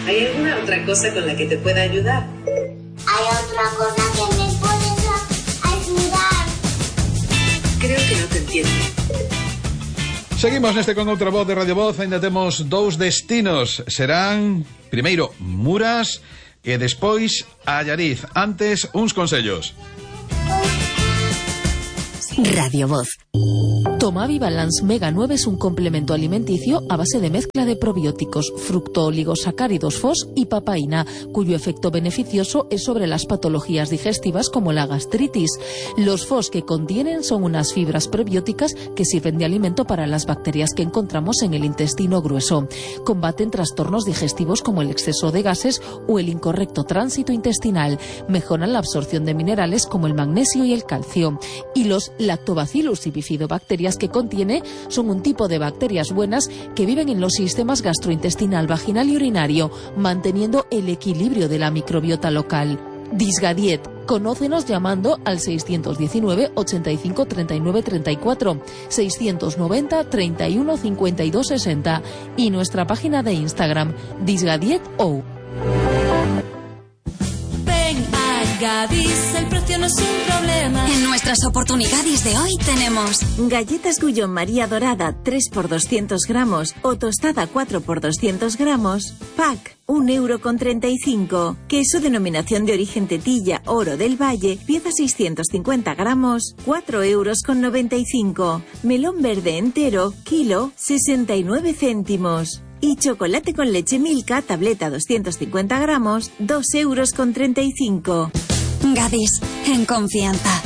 ¿Hay alguna otra cosa con la que te pueda ayudar? ¿Hay otra cosa que me puedes ayudar? Creo que no te entiendo. Seguimos neste con outra voz de Radio Voz. Ainda temos dous destinos. Serán, primeiro, Muras e despois Allariz. Antes, uns consellos. Radio Voz. Tomavi Balance Mega 9 es un complemento alimenticio a base de mezcla de probióticos, fructooligosacáridos FOS y papaína, cuyo efecto beneficioso es sobre las patologías digestivas como la gastritis. Los FOS que contienen son unas fibras prebióticas que sirven de alimento para las bacterias que encontramos en el intestino grueso. Combaten trastornos digestivos como el exceso de gases o el incorrecto tránsito intestinal. Mejoran la absorción de minerales como el magnesio y el calcio. Y los lactobacillus y bifidobacterias que contiene son un tipo de bacterias buenas que viven en los sistemas gastrointestinal, vaginal y urinario, manteniendo el equilibrio de la microbiota local. Disgadiet. Conócenos llamando al 619 85 39 34, 690 31 52 60 y nuestra página de Instagram, disgadietou. Gadis, el precio no es un problema. En nuestras oportunidades de hoy tenemos galletas Gullón María Dorada 3 por 200 gramos o tostada 4 por 200 gramos, pack 1,35 €. Queso denominación de origen Tetilla Oro del Valle, pieza 650 gramos, 4,95 €. Melón verde entero, kilo 69 céntimos. Y chocolate con leche Milka, tableta 250 gramos, 2,35 €. Gadis, en confianza.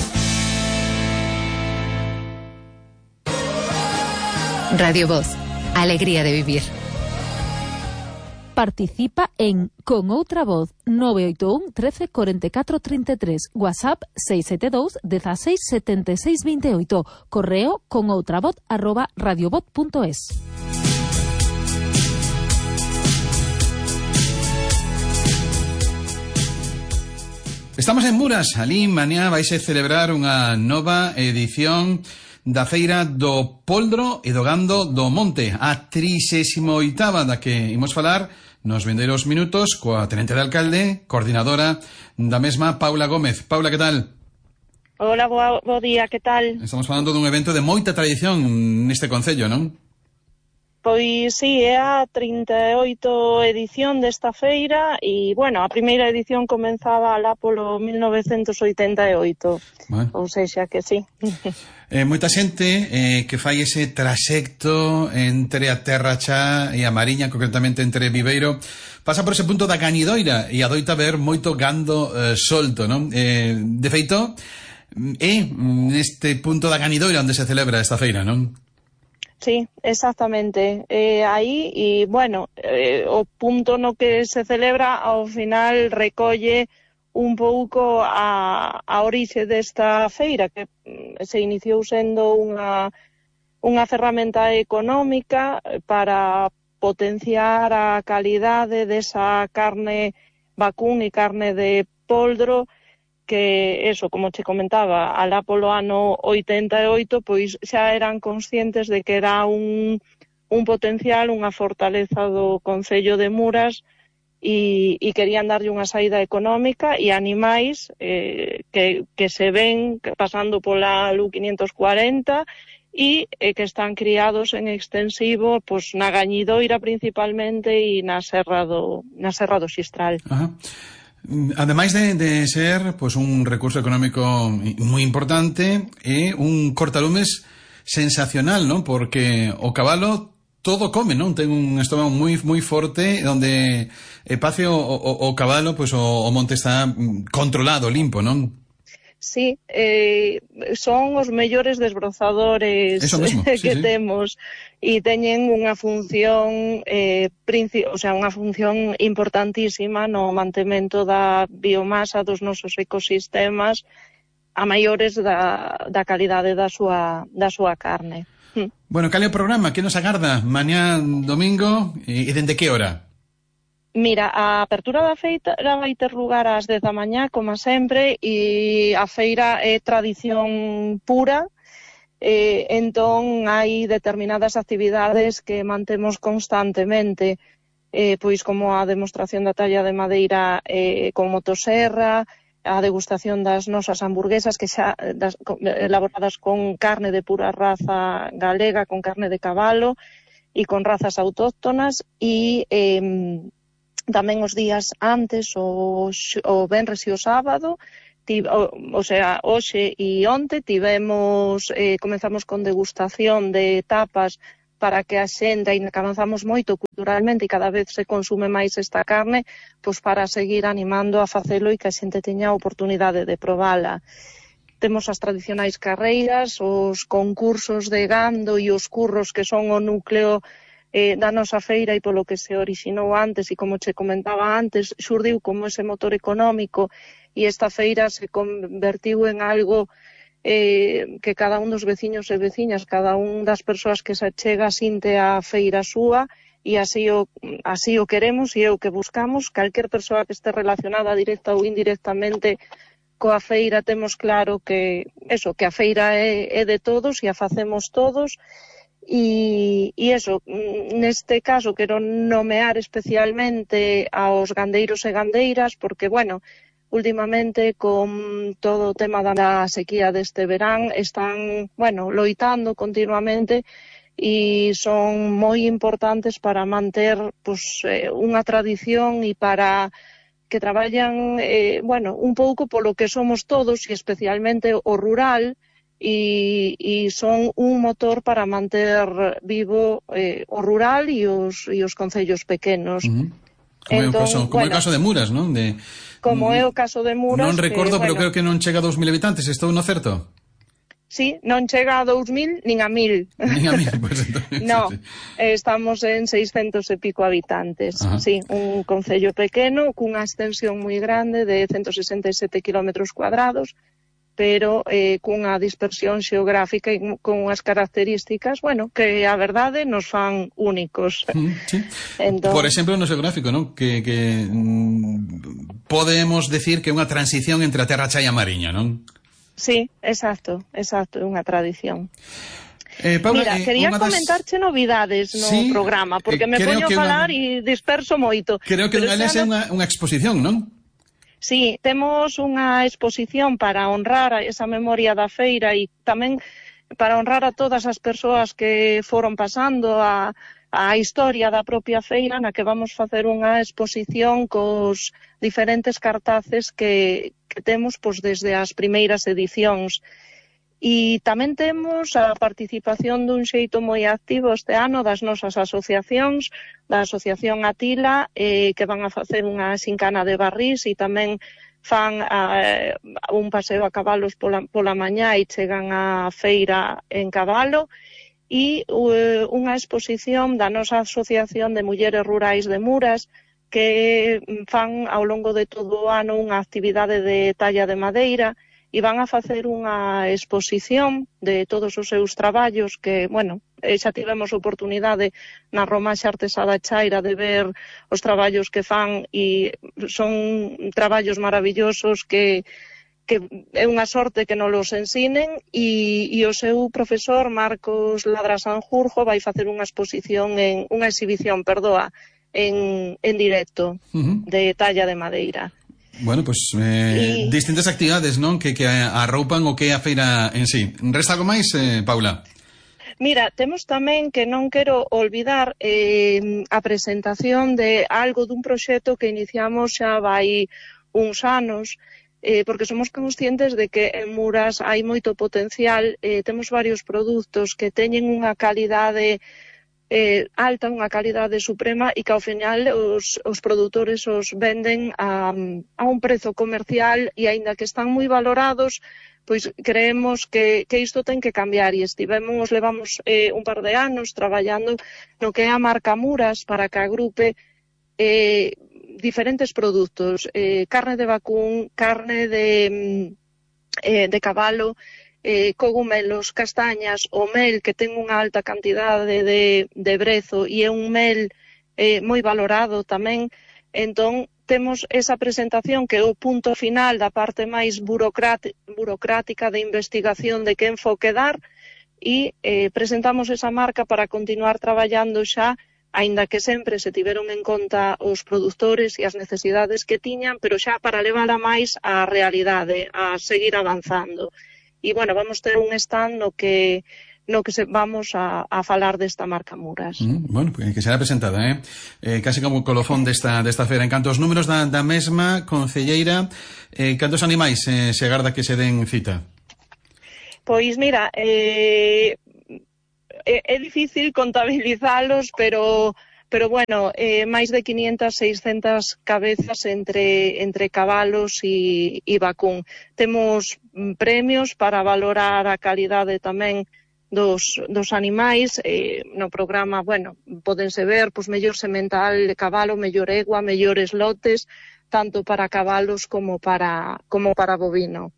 Radio Voz. Alegría de vivir. Participa en Con Outra Voz 981 13 44 33, WhatsApp 672 16 76 28, correo conoutravoz@radiovoz.es. Estamos en Muras. Alí mañá vaise celebrar unha nova edición da Feira do Poldro e do Gando do Monte, a 38ª da que imos falar nos vindeiros minutos coa tenente de alcalde, coordinadora da mesma, Paula Gómez. Paula, que tal? Hola, bo día, que tal? Estamos falando dun evento de moita tradición neste concello, non? Pois sí, é a 38 edición desta feira e, bueno, a primeira edición comenzaba alá polo 1988, bueno. Ou sexa que sí. Moita xente que fai ese trasecto entre a Terra Chá e a Mariña, concretamente entre Viveiro, pasa por ese punto da Gañidoira e adoita ver moito gando solto, non? De feito, é neste punto da Gañidoira onde se celebra esta feira, non? Sí, exactamente. Aí, e, bueno, o punto no que se celebra ao final recolle un pouco a orixe desta feira, que se iniciou sendo unha ferramenta económica para potenciar a calidade desa carne vacún e carne de poldro, que eso, como che comentaba, alá polo ano 88, pois xa eran conscientes de que era un potencial, unha fortaleza do Concello de Muras e querían darlle unha saída económica e animais que se ven pasando pola LU 540 e que están criados en extensivo pois na Gañidoira principalmente e na Serra do Xistral. Ajá. Ademais de ser pues, un recurso económico moi importante, é un cortalumes sensacional, ¿no? Porque o cabalo todo come, non? Ten un estómago moi forte, onde pace o cabalo, pues, o monte está controlado, limpo, non? Sí, son os mellores desbrozadores que temos e teñen unha función unha función importantísima no mantemento da biomasa dos nosos ecosistemas a maiores da calidade da súa carne. Bueno, cal é o programa? Que nos agarda mañá domingo e dende que hora? Mira, a apertura da feira vai ter lugar ás 10 da mañá, como sempre, e a feira é tradición pura, entón hai determinadas actividades que mantemos constantemente. pois como a demostración da talla de madeira con motoserra, a degustación das nosas hamburguesas que xa elaboradas con carne de pura raza galega, con carne de cabalo e con razas autóctonas, e tamén os días antes, o venres e o sábado, o sea, hoxe e onte comenzamos con degustación de tapas para que a xente, aínda que avanzamos moito culturalmente e cada vez se consume máis esta carne, pois para seguir animando a facelo e que a xente teña a oportunidade de probala. Temos as tradicionais carreiras, os concursos de gando e os curros que son o núcleo da nosa feira e polo que se orixinou antes e como che comentaba antes, xurdiu como ese motor económico e esta feira se convertiu en algo que cada un dos veciños e veciñas, cada un das persoas que se achega sinte a feira súa e así o queremos e é o que buscamos. Calquer persoa que este relacionada directa ou indirectamente coa feira temos claro que a feira é de todos e a facemos todos e neste caso quero nomear especialmente aos gandeiros e gandeiras porque, últimamente con todo o tema da sequía deste verán están, loitando continuamente e son moi importantes para manter unha tradición e para que traballan, un pouco polo que somos todos e especialmente o rural e son un motor para manter vivo o rural e os concellos pequenos. Como é o caso de Muras, non? Como é o caso de Muras. Non recordo, pero creo que non chega a 2.000 habitantes, estou no certo? Sí, non chega a 2.000 nin a 1.000. Nin a 1.000, pois entonces. No, estamos en 600 e pico habitantes. Ajá. Sí, un concello pequeno cunha extensión moi grande de 167 km cuadrados, pero cunha dispersión xeográfica e con unhas características, que a verdade nos fan únicos. Sí. Entón, por exemplo, no xeográfico, non? Que podemos decir que é unha transición entre a terra cha e a mariña, non? Sí, exacto, é unha tradición. Paula, mira, quería comentarche novidades no programa, porque me poño a falar e disperso moito. Creo que unha é unha exposición, non? Sí, temos unha exposición para honrar esa memoria da feira e tamén para honrar a todas as persoas que foron pasando a historia da propia feira, na que vamos facer unha exposición cos diferentes cartaces que temos desde as primeiras edicións. E tamén temos a participación dun xeito moi activo este ano das nosas asociacións, da Asociación Atila, que van a facer unha xincana de barrís e tamén fan un paseo a cabalos pola mañá e chegan á feira en cabalo, e unha exposición da nosa Asociación de Mulleres Rurais de Muras, que fan ao longo de todo o ano unha actividade de talla de madeira e van a facer unha exposición de todos os seus traballos que, xa tivemos oportunidade na Romaxe Artesá da Chaira de ver os traballos que fan e son traballos maravillosos que é unha sorte que nos los ensinen e o seu profesor Marcos Ladra Sanjurjo vai facer unha exposición unha exhibición en directo de talla de madeira. Bueno, pues distintas actividades, non? Que arroupan o que é a feira en sí. Resta algo máis, Paula? Mira, temos tamén que non quero olvidar a presentación de algo dun proxecto que iniciamos xa vai uns anos, porque somos conscientes de que en Muras hai moito potencial, temos varios produtos que teñen unha calidade alta, unha calidade suprema e que ao final os produtores os venden a un prezo comercial e aínda que están moi valorados, pois creemos que isto ten que cambiar e levamos un par de anos traballando no que é a marca Muras para que agrupe diferentes produtos, carne de vacún, carne de cabalo, cogumelos, castañas, o mel que ten unha alta cantidade de brezo e é un mel moi valorado tamén. Entón, temos esa presentación que é o punto final da parte máis burocrática de investigación de que enfoque dar e presentamos esa marca para continuar traballando xa aínda que sempre se tiveron en conta os produtores e as necesidades que tiñan, pero xa para levala máis á realidade, a seguir avanzando. E, bueno, vamos ter un stand no que vamos a falar desta marca Muras. Bueno, que será presentada, casi como colofón desta feira. En canto aos números da mesma, concelleira, cantos animais se agarda que se den cita? Pois mira, é difícil contabilizalos, pero bueno, máis de 500, 600 cabezas entre cabalos e vacún. Temos premios para valorar a calidade tamén dos animais. No programa, bueno, podense ver mellor semental de cabalo, mellor egua, mellores lotes, tanto para cabalos como para bovino.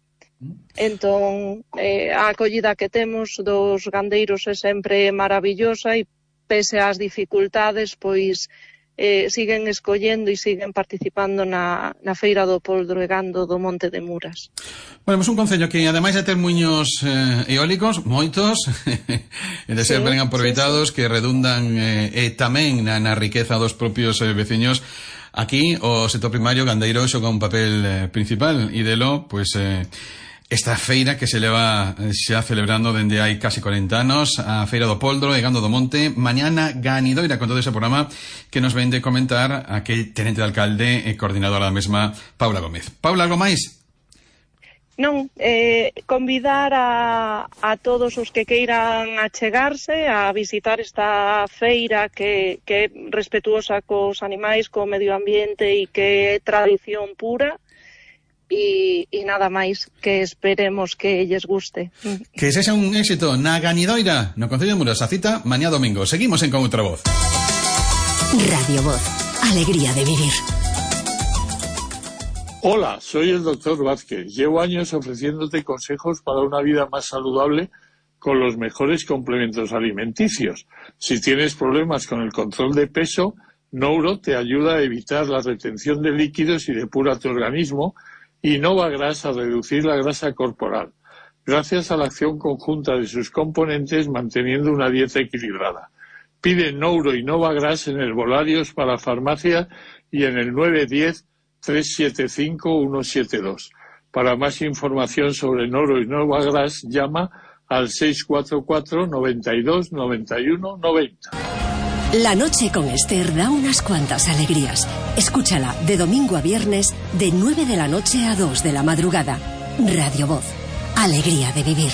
Entón, a acollida que temos dos gandeiros é sempre maravillosa e pese ás dificultades, pois siguen escollendo e siguen participando na Feira do Poldro e Gando do Monte de Muras. Bueno, un concello que ademais de ter muiños eólicos, moitos, e de ser ben aproveitados, que redundan tamén na riqueza dos propios veciños. Aquí o sector primario gandeiro xoga un papel principal e delo, pois, esta feira que se leva xa celebrando dende hai casi 40 anos, a Feira do Poldro e Gando do Monte, mañana ganidoira con todo ese programa que nos ven de comentar aquí tenente de alcalde e coordinadora da mesma, Paula Gómez. Paula, algo máis? Non, convidar a todos os que queiran achegarse a visitar esta feira que é respetuosa cos animais, co medio ambiente e que é tradición pura. E nada máis, que esperemos que lles guste. Que sexa un éxito na ganidoira no Concello de Muras. A cita mañá domingo. Seguimos en Con Outra Voz. Radio Voz, alegría de vivir. Hola, soy el doctor Vázquez. Llevo años ofreciéndote consejos para una vida más saludable con los mejores complementos alimenticios. Si tienes problemas con el control de peso, Nouro te ayuda a evitar la retención de líquidos y depura tu organismo, y Novagras a reducir la grasa corporal, gracias a la acción conjunta de sus componentes manteniendo una dieta equilibrada. Pide Nouro y Novagras en herbolarios para farmacia y en el 910-375-172. Para más información sobre Nouro y Novagras, llama al 644 92 91 90. La noche con Esther da unas cuantas alegrías. Escúchala de domingo a viernes de 9 de la noche a 2 de la madrugada. Radio Voz, alegría de vivir.